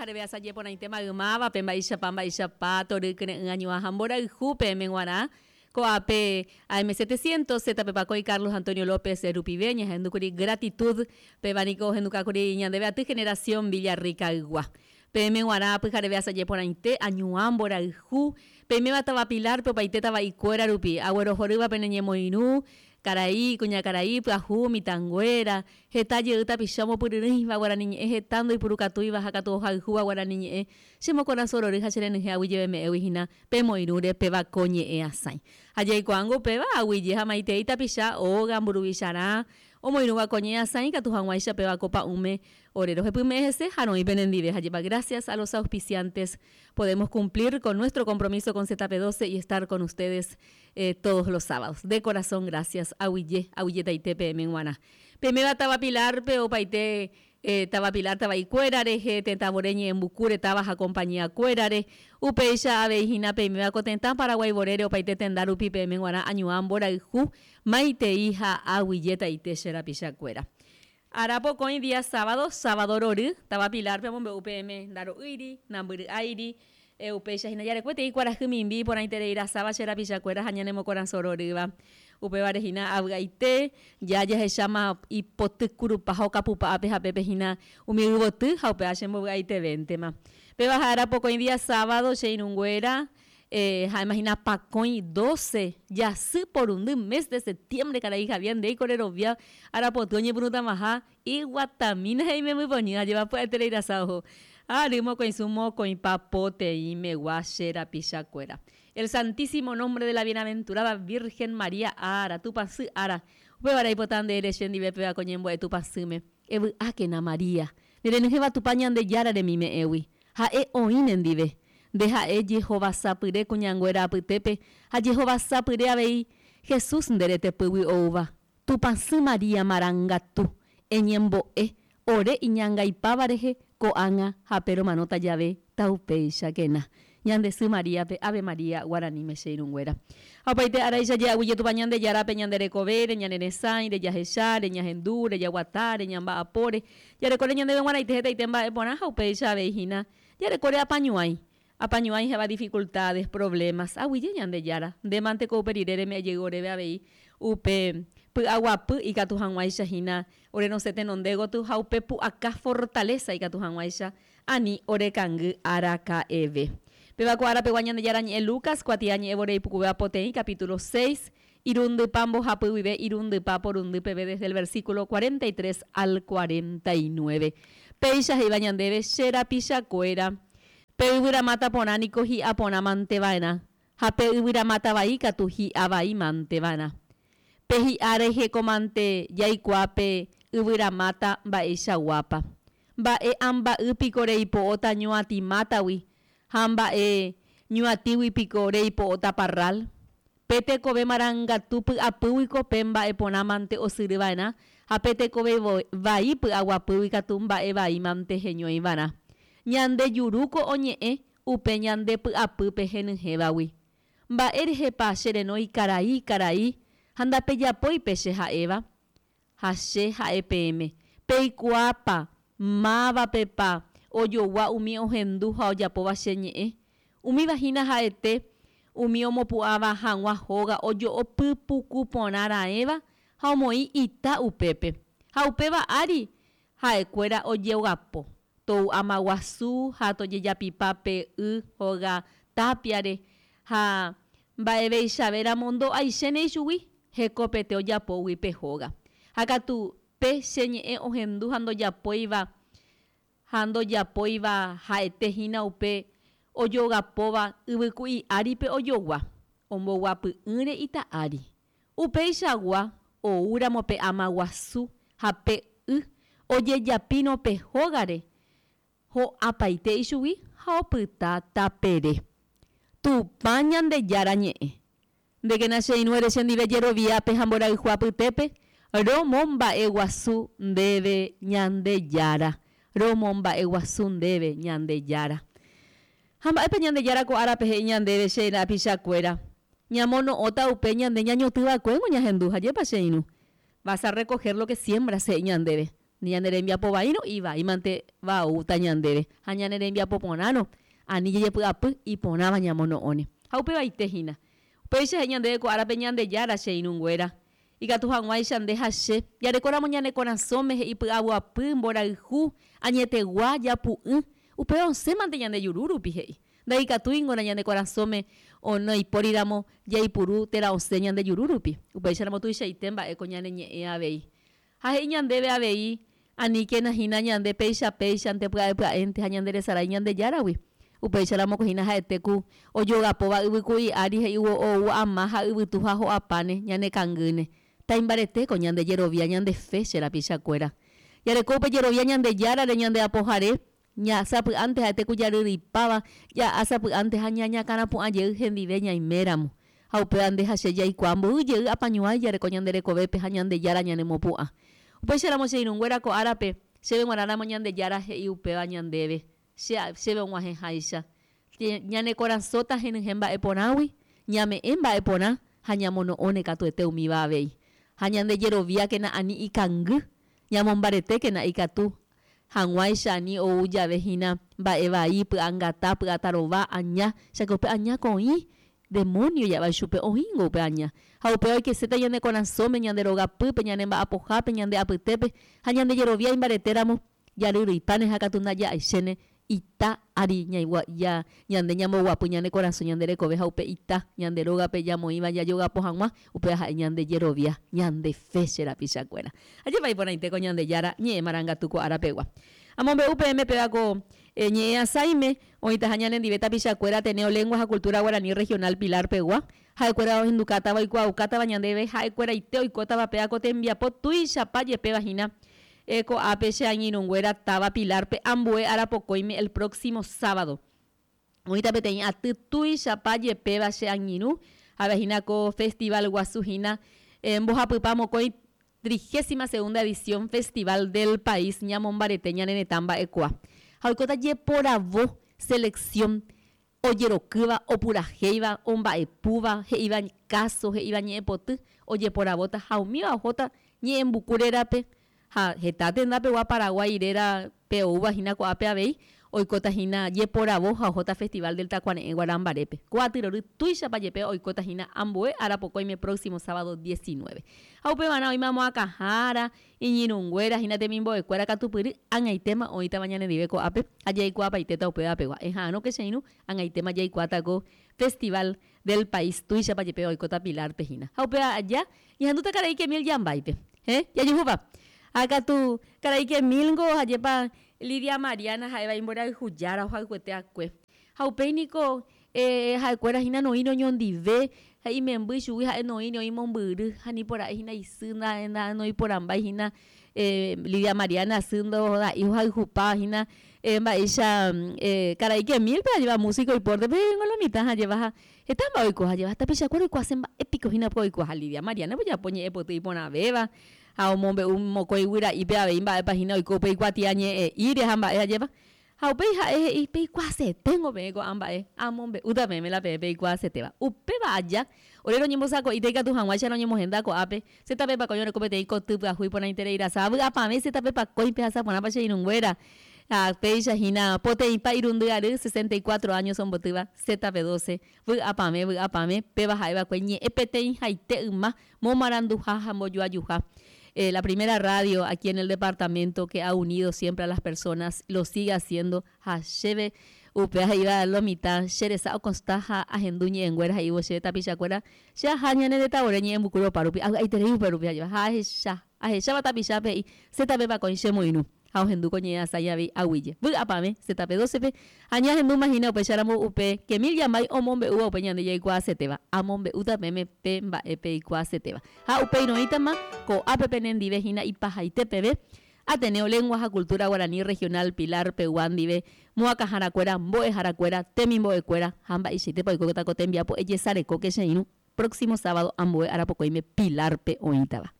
Pyhareve asaje porãite maymávape, mba'eichapa mba'eichapa tory kyre'ỹ añuã ha mborayhu peẽme g̃uarã. Ko'ápe AM 700, ZP Pakõi Carlos Antonio López rupive ñahendúkuri Gratitud, péva niko ohendukákuri ñandéve aty Generación Villarrica-ygua. Peẽme g̃uarã pyhareve asaje porãite, añuã mborayhu, peiméva táva Pilar-pe opaite tava'ikuéra rupi, aguerohorýva pene ñemoirũ, Karai, kuñakarai, pyahu, mitãnguéra, heta jey tapicha omopyryrỹiva guarani ñe'ẽ heta ndoipurukatúiva ha katu ohayhúva guarani ñe'ẽ, che mokorasõ rory ha che renyhẽ aguyjeveme'ẽgui hína pemoirũre péva ko ñe'ẽ asãi. Ha jaikuaángo upéva, aguyje ha maitei tapicha óga mburuvicharã omoirũva ko ñe'ẽ asãi ikatu hag̃uáicha péva ko pa'ũme ore rohepyme'ẽ hese ha roĩ penendive ha jepa gracias a los auspiciantes podemos cumplir con nuestro compromiso con ZP 12 y estar con ustedes todos los sábados. De corazón gracias. Aguyje, aguyjetaite peẽme g̃uarã. Peiméva táva Pilar-pe opaite táva Pilar tava'ikuéra rehe, tetãvore ñe'ẽmbukúre táva ha compañía-kuérare. Upéicha avei hína peiméva ko tetã Paraguái vorére opaite tenda rupi peẽme g̃uarã añuã mborayhu, maitei ha aguyjetaite che rapichakuéra. Ára pokõi día sábado, sábado rory, táva Pilar-pe omombe'u peẽme ndaro'ýiri, nambyry'áiri, upéicha hína jarekueteĩ kuarahy mimbi iporãiterei rasáva che rapichakuéra ha ñanemokorasõ rorýva. Upévare hína avy'aite, ja jahecháma ipoty kurupa ha okapupa ápe ha pépe hína umi yvoty ha upéva chembovy'aitevéntema. Péva ha ára pokõi día sábado che irũnguéra, Ha'éma hína pakõi doce jasy porundy mes de septiembre karai Javier ndéiko rerovia arapoty oñepyrũtamaha iguatamína he'i membypoñy ajépa pya'eterei rasa oho ary mokõisu mokõipa poteĩmegua che rapichakuéra. El Santísimo Nombre de la Bienaventurada Virgen María ára, Tupãsy ára, upévare aipota nde ere che ndive péva ko ñembo'e Tupãsýme, Evy'ákena María, ne renyhẽva Tupã Ñandejára remime'ẽgui, Ha'e oĩ nendive. Nde ha'e jehovasapyre kuñanguéra apytépe ha jehovasapyre avei Jesús nde retepýgui oúva. Tupãsy María marangatu, eñembo'e ore iñangaipáva rehe ko'ág̃a ha pe romanóta jave taupéichakena. Ñande sy Maríape, Ave María, guaraníme che irũnguéra. Ha opaite áraicha je'aguyje Tupã Ñandejárape ñande rekovére, ñane resãire, jahecháre, ñahendúre, jaguatáre, ñamba'apóre, Jarekóre ñandéve g̃uarãite hetaite mba'e porã ha upéicha avei hína jarekóre apañuãi. Apañuãi ha'éva dificultades, problemas. Aguyje Ñandejára, nde mante ko upe rire reme'ẽ jey oréve avei upe py'aguapy ikatu hag̃uáicha hína ore rosẽ tenonde gotyo ha upe pu'aka fortaleza ikatu hag̃uáicha ani orekangy araka'eve. Péva ko ára pegua Ñandejára ñe'ẽ Lucas kuatiañe'ẽ vore ipukuvéva poteĩ capítulo seis Irundypa mbohapy guive irundypa porundy peve desde el versículo 43 al 49. Péicha he'íva ñandéve, Che rapichakuéra, pe yvyramáta porã niko hi'a porã mante va'erã, ha pe yvyramáta vai katu hi'a vai mante va'erã. Pe hi'a reheko mante jaikuaa pe yvyramáta mba'eichaguápa. Mba'e amba'y piko reipo'óta ñuatĩ mátagui ha mba'e ñuatĩgui piko reipo'óta parral? Pe tekove marangatu py'apýguiko pe mba'e porã mante osyry va'erã, ha pe tekove vai py'aguapýgui katu mba'e vai mante heñói va'erã. Ñande jurúko oñe'ẽ upe ñande py'apýpe henyhẽvagui. Mba'e rehepa che renói karai, karai, ha ndapejapói pe che ha'éva? Ha che ha'e peẽme, peikuaápa mávapepa ojogua umi ohendu ha ojapóva che ñe'ẽ? Umíva hína ha'ete umi omopu'ãva hag̃ua hóga ojo'o pypuku porã raẽva ha omoĩ ita upépe. Ha upéva ári ha'ekuéra ojeogapo, tou ama guasu ha tojejapipa pe y hóga tápiare ha mba'eveichavéramo ndo'aichéne ichugui. Hekopete ojapógui pe hóga. Ha katu pe che ñe'ẽ ohendu ha ndojapóiva ha ndojapóiva ha'ete hína upe ojogapóva yvyku'i áripe ojogua, omboguapy'ỹre ita ári. Upeichagua oúramo pe ama guasu ha pe y ojejapírõ pe hógare, ho'apaite ichugui ha opyta tapere. Tupã Ñandejára ñe'ẽ. Ndékena che irũ ere chendive jeroviápe ha mborayhu apytépe, romomba'eguasu ndéve Ñandejára, romomba'eguasu ndéve Ñandejára. Ha mba'épa Ñandejára ko árape he'i ñandéve che rapichakuéra, ñamono'õta upe ñande ñañotỹva'ekuéngo ñahendu, hajépa che irũ? Vas a recoger lo que siembras he'i ñandéve. Ñane rembiapo vaírõ ivaímante va oúta ñandéve, ha ñane rembiapo porãrõ ani jajepy'apy iporãva ñamono'õne. Ha upevaite hína. Upéicha he'i ñandéve ko árape Ñandejára che irũnguéra, ikatu hag̃uáicha nde ha che, jarekóramo ñane korasõme he'i py'aguapy, mborayhu, añetegua, japu'ỹ, upéva osẽmante ñande juru rupi he'i. Ndaikatúingo na ñane korasõme onoipóriramo jaipuru térã osẽ ñande juru rupi. Upéicharamo tuichaite mba'e ko ñane ñe'ẽ avei. Ha he'i ñandéve avei, Aníkena hína ñande péicha péichante pya'e pya'énte ha ñanderesarái Ñandejáragui. Upéicharamo ko hína ha'ete ku ojogapóva yvyku'i ári he'ívo ou ama ha yvytu ha ho'apáne ñane kangýne. Taimbarete ko ñande jerovia ñande fe che rapichakuéra. Jareko upe jerovia Ñandejárare ñande Apohare, ña sapy'ánte ha'ete ku jaryryipáva, ja'a sapy'ánte ha ñañakãrapu'ã jey hendive ñaiméramo. Ha upéva nde ha che jaikuaa mboy jey apañuãi jareko ñande rekovépe ha Ñandejára ñanemopu'ã. Upéicharamo che irũnguéra ko árape, chéve g̃uarãramo Ñandejára he'i upéva ñandéve, che chéve og̃uahẽháicha. Ñane korasõta henyhẽ mba'e porãgui, ñame'ẽ mba'e porã ha ñamono'õne katuete umíva avei. Ha ñande jeroviákena ani ikangy, ñamombaretékena ikatu hag̃uáicha ani ou jave hína mba'e vai, py'angata, py'atarova, aña, cháke upe aña ko oĩ, demónio ja'éva ichupe, oĩngo upe aña. Ha upéva oikeséta ñane korasõme, ñande rogapýpe, ñane mba'apohápe, ñande apytépe, ha ñande jerovia imbaretéramo, jaryrýipáne ha katu ndaja'aichéne ita ári ñande ñamboguapy ñane korasõ ñande rekove ha upe ita ñande rógape jamoĩva jajogapo hag̃ua, upéva ha'e ñande jerovia, ñande fe che rapichakuéra. Ajépa iporãite ko Ñandejára ñe'ẽ marangatu ko ára pegua. Amombe'u peẽme péva ko ñe'ẽ asãime oĩtaha ñanendive tapichakuéra Ateneo Lengua ha Cultura Guaraní Regional Pilar pegua, ha'ekuéra ohendukátava oikuaaukátava ñandéve ha'ekueraite oikótava péva ko tembiapo tuichapa jepéva hína Ko'ápe che angirũnguéra táva Pilar-pe ambue ára pokõime el próximo sábado. Oĩta peteĩ aty tuichapa jepéva che angirũ, ha'éva hína ko festival guasu hína mbohapypa mokõi trigésima segunda edición Festival del País ñamombarete ñane retã mba'ekua. Ha oikóta jeporavo, selección, ojerokýva, opurahéiva, omba'epúva, he'íva káso, he'íva ñe'ẽpoty, ojeporavóta ha umíva ohóta ñe'ẽmbuku rérape ha heta tenda pegua Paraguái réra pe oúva hína ko'ápe avei, oikóta hína jeporavo ha ohóta Festival del Takuare'ẽ Guarambarépe. Ko aty rory tuichapa jepe oikóta hína ambue ára pokõime próximo sábado 19. Ha upevarã oĩma moakãhára, Iñirũnguéra hína temimbo'ekuéra katupyry, ag̃aitéma oĩtava ñanendive ko'ápe ha jaikuaapaitéta upéva pegua. Eha'arõke che irũ, ag̃aitéma jaikuaáta ko Festival del País tuichapa jepe oikóta Pilar-pe hína. Ha upéva aja, ñahendúta karai Kemil Jambáipe. He? Jajuhúpa? Ha katu, karai Kemil-ngo hajépa Lidia Mariana ha'éva imborayhujára ohayhuete akue. Ha upéi niko ha'ekuéra hína noĩri oñondive, ha imemby chugui ha'e noĩri oĩ mombyry, ha nipora'e hína isy noĩporãmbái hína Lidia Mariana sy ndoda'i ohayhupa hína mba'éicha karai Kemil-pe ajéva músico ipórte pe ningo lo mitã ajéva ha heta mba'e oiko ajéva ha tapichakuéra oikuaase mba'e piko hína upe oikuaaha Lidia Mariana ojapo ñe'ẽpoty iporãvéva ha omombe'u mokõi guyra'ipe avei mba'épa hína oiko upe ikuatiañe'ẽ'íre ha mba'e ajéva Ha upéi ha'e he'i, Peikuaaseténgo peẽ ko'ã mba'e, amombe'úta peẽme la peẽ peikuaasetéva. Upéva aja, ore roñembosako'íta ikatu hag̃uáicha roñemohenda ko'ápe, che tape pakõi oreko peteĩ koty pyahu iporãiterei rasa. Avy'apavẽ che tape pakõi pehasa porãpa che irũnguéra. Ha péicha hína, poteĩpa irundy ary, 64 años ombotýva, che tape doce. Vy'apavẽ, vy'apavẽ, péva ha'e va'ekue ñe'ẽ peteĩhaite yma momaranduha ha mbojoajuha. La primera radio aquí en el departamento que ha unido siempre a las personas, lo sigue haciendo ha chéve upéva he'íva lo mitã che resa okonsta ha ahendu ñe'ẽnguéra he'ívo chéve tapichakuéra che aha ñane retãvore ñe'ẽmbuku ropa rupi avy'aiterei upe rupi ajéva ha ahecha ahecháva tapichápe he'i che tape pakõi che moirũ Ha ohendu ko ñe'ẽ asãi avei aguije. Vy'apavẽ, ZP 12-pe, ha ñahendúma hína upéicharamo upe Kemil Yambay omombe'úva upe ñande jaikuaasetéva. Amombe'úta peẽme pe mba'e peikuaasetéva. Ha upéi roĩtama ko'ápe penendive hína ipahaite peve, Ateneo Lengua ha Cultura Guaraní Regional Pilar pegua ndive, moakãharakuéra, mbo'eharakuéra, temimbo'ekuéra ha mba'eichaitépa oikóta ko tembiapo ejesarekóke che irũ próximo sábado ambue arapokõime Pilar-pe oĩtava.